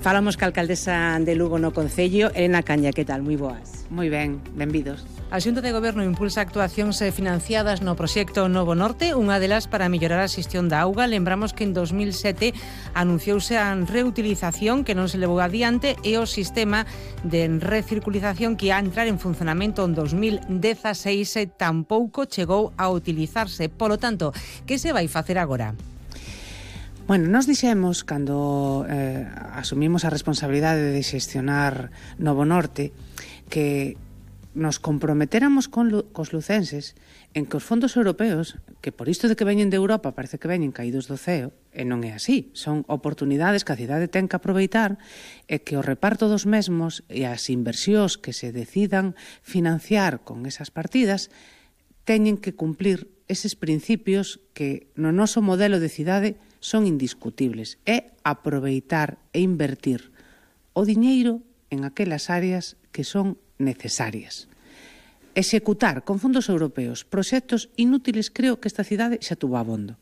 Falamos ca alcaldesa de Lugo no Concello, Elena Caña, que tal? Moi boas. Moi ben, benvidos. A Xunta de Goberno impulsa actuacións financiadas no proxecto Novo Norte, unha delas para mellorar a xestión da auga. Lembramos que en 2007 anunciouse a reutilización que non se levou adiante e o sistema de recirculización que ia entrar en funcionamento en 2016 tampouco chegou a utilizarse. Polo tanto, que se vai facer agora? Bueno, nos dixemos, cando asumimos a responsabilidade de xestionar Novo Norte, que nos comprometéramos cos lucenses en que os fondos europeos, que por isto de que veñen de Europa parece que veñen caídos do ceo, e non é así, son oportunidades que a cidade ten que aproveitar, e que o reparto dos mesmos e as inversións que se decidan financiar con esas partidas teñen que cumplir eses principios que no noso modelo de cidade son indiscutibles. É aproveitar e invertir o diñeiro en aquelas áreas que son necesarias. Executar con fondos europeos proxectos inútiles, creo que esta cidade xa tuvo abondo.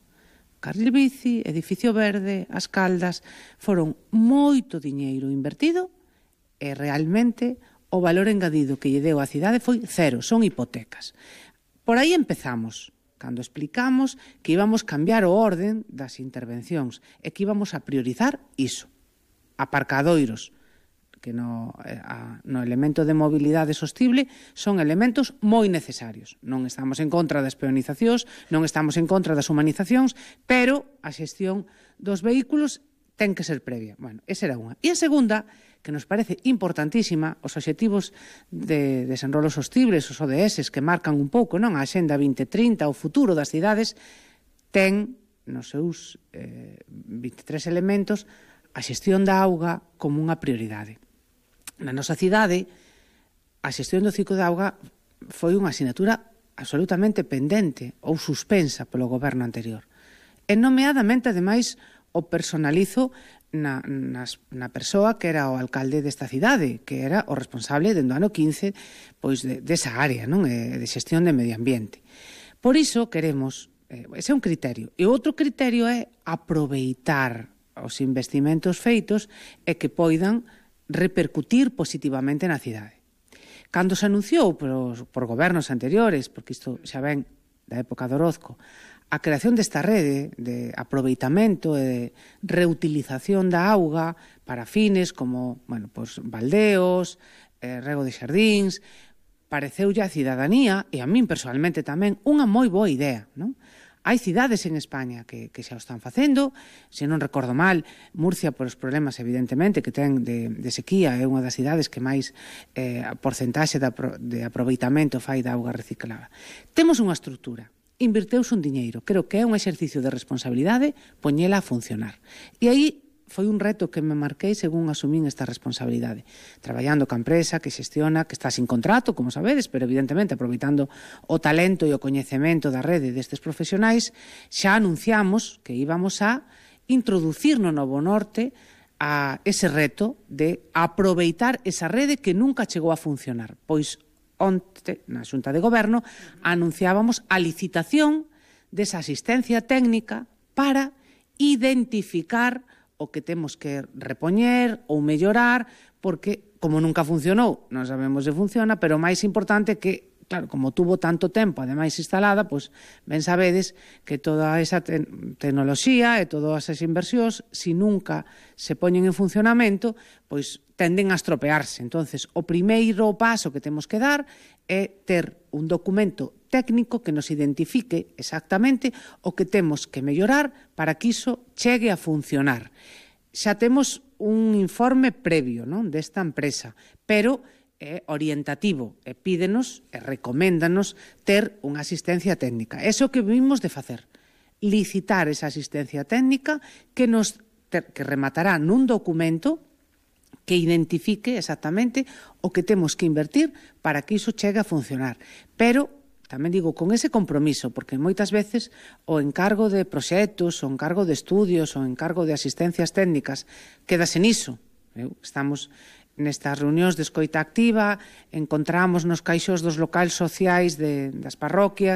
Carril bici, edificio verde, as caldas, foron moito diñeiro invertido e realmente o valor engadido que lle deu a cidade foi cero, son hipotecas. Por aí empezamos, cando explicamos que íbamos cambiar o orden das intervencións e que íbamos a priorizar iso. Aparcadoiros, que no elemento de mobilidade sostible son elementos moi necesarios. Non estamos en contra das peonizacións, non estamos en contra das humanizacións, pero a xestión dos vehículos ten que ser previa. Bueno, esa era unha. E a segunda, que nos parece importantísima, os obxectivos de desenrolo sostibles, os ODS, que marcan un pouco non a Axenda 2030, o futuro das cidades, ten nos seus 23 elementos a xestión da auga como unha prioridade. Na nosa cidade, a xestión do ciclo de auga foi unha asignatura absolutamente pendente ou suspensa polo goberno anterior. E nomeadamente, ademais, o personalizo na persoa que era o alcalde desta cidade, que era o responsable dende o ano 15 pois desa área, non, de xestión de medio ambiente. Por iso queremos, ese é un criterio, e outro criterio é aproveitar os investimentos feitos e que poidan repercutir positivamente na cidade. Cando se anunciou por gobernos anteriores, porque isto xa ven da época de Orozco, a creación desta rede de aproveitamento e de reutilización da auga para fines como, bueno, pues, baldeos, rego de xardíns, pareceulle a cidadanía, e a min personalmente tamén, unha moi boa idea, non? Hai cidades en España que xa o están facendo, se non recordo mal, Murcia, por os problemas, evidentemente, que ten de sequía, é unha das cidades que máis porcentaxe de aproveitamento fai da auga reciclada. Temos unha estrutura, inverteuse un diñeiro, creo que é un exercicio de responsabilidade poñela a funcionar. E aí foi un reto que me marquei según asumín esta responsabilidade. Traballando ca empresa que xestiona, que está sin contrato, como sabedes, pero evidentemente aproveitando o talento e o coñecemento da rede destes profesionais, xa anunciamos que íbamos a introducir no Novo Norte a ese reto de aproveitar esa rede que nunca chegou a funcionar. Pois onte, na Xunta de Goberno, anunciábamos a licitación desa asistencia técnica para identificar o que temos que repoñer ou mellorar, porque, como nunca funcionou, non sabemos se funciona, pero o máis importante que, claro, como tuvo tanto tempo, ademais instalada, pois ben sabedes que toda esa tecnoloxía e todas esas inversións, se nunca se poñen en funcionamento, pois tenden a estropearse. Entonces, o primeiro paso que temos que dar é ter un documento técnico que nos identifique exactamente o que temos que mellorar para que iso chegue a funcionar. Xa temos un informe previo, non, desta empresa, pero é orientativo e pídenos e recoméndanos ter unha asistencia técnica. Eso que vimos de facer, licitar esa asistencia técnica que rematará nun documento que identifique exactamente o que temos que invertir para que iso chegue a funcionar. Pero tamén digo, con ese compromiso, porque moitas veces o encargo de proxectos, o encargo de estudios, o encargo de asistencias técnicas quedase niso. Estamos nestas reunións de escoita activa, encontramos nos caixós dos locais sociais das parroquias